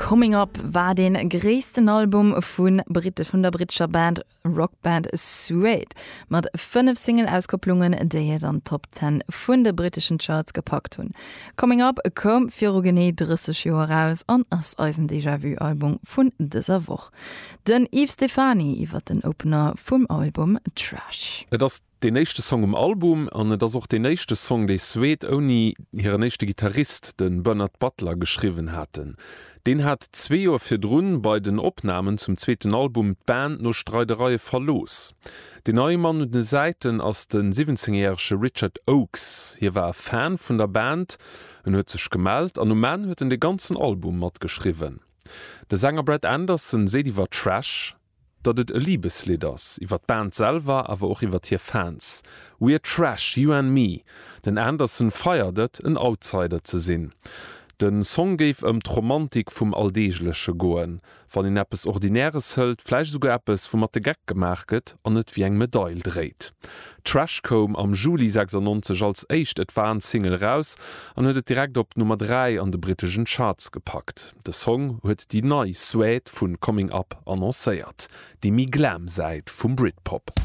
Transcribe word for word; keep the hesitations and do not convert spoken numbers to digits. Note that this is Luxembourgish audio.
Coming Up war dee gréissten Album vun Britte vun der brittescher Band Rockband Suede mat fënnef Single-Auskopplungen, déi et an d'Top Ten vun de britteschen Charts gepackt hunn. Coming Up koum viru genee drësseg Joer eraus an ass eisen Déjà-vu-Album vun dëser Woch. Den Yves Stephany iwwer den Opener vum Album Trash. Et ass deen éischte Song um Album an et ass och deen éischte Song, dee Suede ouni hiren éischte Gittarist, de Bernard Butler, geschriwwen haten. Deen hat zwee Joer virdrun bei den Opnamen zum zweeten Album d'Band no Streidereie verlooss. Den neie Mann un de Säiten ass de siwwenzéngjärege Richard Oakes. Hie war e Fan vun der Band, en huet sech gemellt an um Enn huet en de ganzen Album matgeschriwwen. De Sänger Brett Anderson seet iwwer Trash, datt et e Libeslidd ass, iwwer d'Band selwer, awer och iwwer hir Fans. We're trash, you and me. Den Anderson feiert et, en Outsider ze sinn. De Song géif ëm d'Romantik vum Alldeegleche goen, wann een eppes Ordinäres hëlt, vläicht esouguer eppes, woumat de Geck gemaach gëtt, an et wéi eng Medail dréit. Trash koum am Juli sechsannonzeg als éischt Advance-Single eraus an huet et direkt op d'Nummer dräi an de britteschen Charts gepackt. De Song huet déi nei Suede vu Coming Up annoncéiert, déi méi glam Säit vum Britpop.